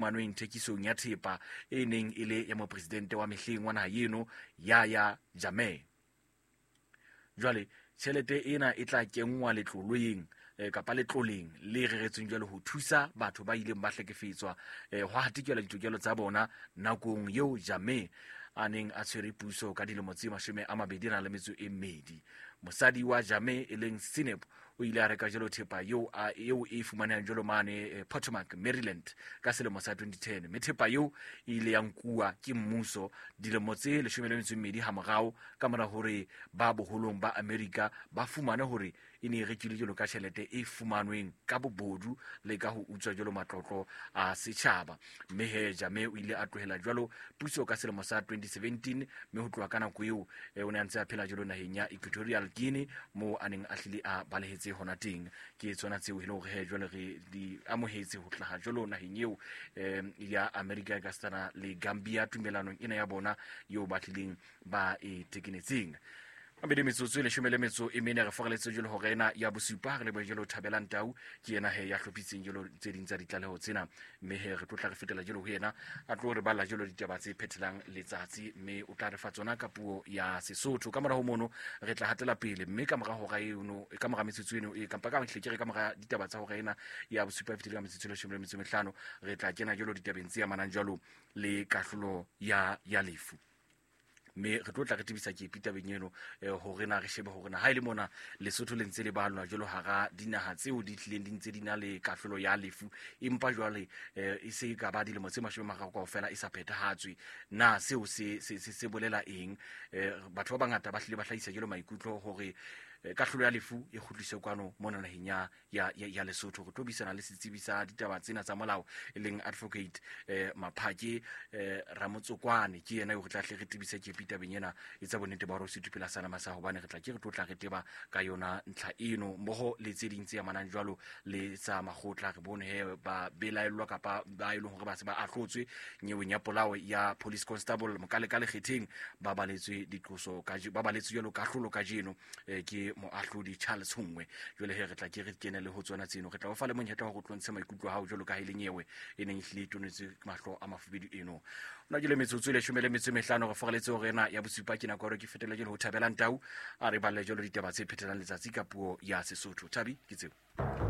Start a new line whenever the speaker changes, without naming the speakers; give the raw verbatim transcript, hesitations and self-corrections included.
Manweng thekisong ya thepa e neng e le ya mopresidente wa mehleng wa naha eno Yahya Jammeh. Jwale tjhelete ena e tla kenngwa letloleng kapa letloleng le reretsweng jwale ho thusa batho ba ileng ba hlekefetswa ho hatikela ditokelo tsa bona nakong eo Jammeh a neng a tshwere puso ka dilemo tse mashome a mabedi a nang le metso e mmedi. Mosadi wa Jammeh e leng Sineb o ile a reka jalo thepa eo eo e fumanehang jalo mane Potomac, Maryland ka selemo sa twenty ten. Mme thepa eo e ile ya nkuwa ke mmuso dilemo tse leshome le metso e mmedi hamorao ka mora hore ba boholong ba Amerika ba fumane hore e ne e rekilwe jalo ka tjhelete e fumanweng ka bobodu le ka ho utswa jalo matlotlo a setjhaba. Mme he Jammeh o ile a tlohela jalo puso ka selemo sa twenty seventeen, mme ho tloha ka nako eo o ne a ntse a phela jalo naheng ya Equatorial Guinea moo a neng a hlile a balehetse hona teng. Ke tsona tseo e leng hore he jwale re di amohetse ho hlaha jalo naheng eo ya Amerika ka setsana le Gambia tumellanong ena ya bona eo ba tlileng ba e tekenetseng. Mabedi metsotso e leshome le metso e mene re foreletse jalo hore ena ya bosupa re lebohe jalo Thabelang Tau ke yena he ya hlophisitseng jalo tse ding tsa ditlaleho tsena, mme he re tlo tla re fetela jalo ho yena a tlo re balla jalo ditaba tse phethelang letsatsi, mme o tla re fa tsona ka puo ya Sesotho. Ka mora ho mono re tla hatela pele, mme ka mora hora eno ka mora metsotso eno e kampa ka hle ke re ka mora ditaba tsa hora ena ya bosupa e fetile ka metsotso e leshome le metso e mehlano re tla kena jalo ditabeng tse amanang jalo le kahlolo ya ya lefu. Mme re tlo tla re tebisa ke tabeng eno hore na re shebe hore na ha ile mona Lesotho le ntse le balwa jwalo hara dinaha tseo di tlileng di ntse di na le kahlolo ya lefu, empa jwale e se ka ba dilemo tse mashome a mararo kaofela e sa phethahatswe. Na seo se se se bolela eng? Batho ba bangata ba hlile ba hlahisa jwalo maikutlo hore kahlolo ya lefu e kgutliswe kwano mona naheng ya ya ya Lesotho. Re tlo buisana le setsebi sa ditaba tsena tsa molao e leng advocate eh, Maphake eh, Ramotsokwane, ke yena eo re tla hle re tebise ke tabeng ena e tsa bonnete ba hore se thupela sana masa, hobane re tla ke re tlo tla re teba ka yona ntlha eno mmoho le tse ding tse amanang jwalo le tsa makgotla. Re bone he ba belaellwa kapa ba e leng hore ba se ba ahlotswe nyeweng ya polao ya police constable Mokaleka Lekgetheng ba baletswe diqoso ka ba baletswe jwalo kahlolo kajeno eh, ke moahlodi Charles Hungwe. Jwale he re tla ke re kene le ho tsona tseno, re tla o fa le monyetla wa go tlontshe maikutlo a hao jwalo ka ha e le nyewe e neng e hlile e tonetse mahlo a mafubedu eno. Nna ke le metsotso e leshome le metso e mehlano re foreletse hore ena ya bosupa ke nako ya hore ke fetele jwalo ho Thabelang Tau a re balle jwalo ditaba tse phethelang letsatsi ka puo ya Sesotho. Thabi ke tseo.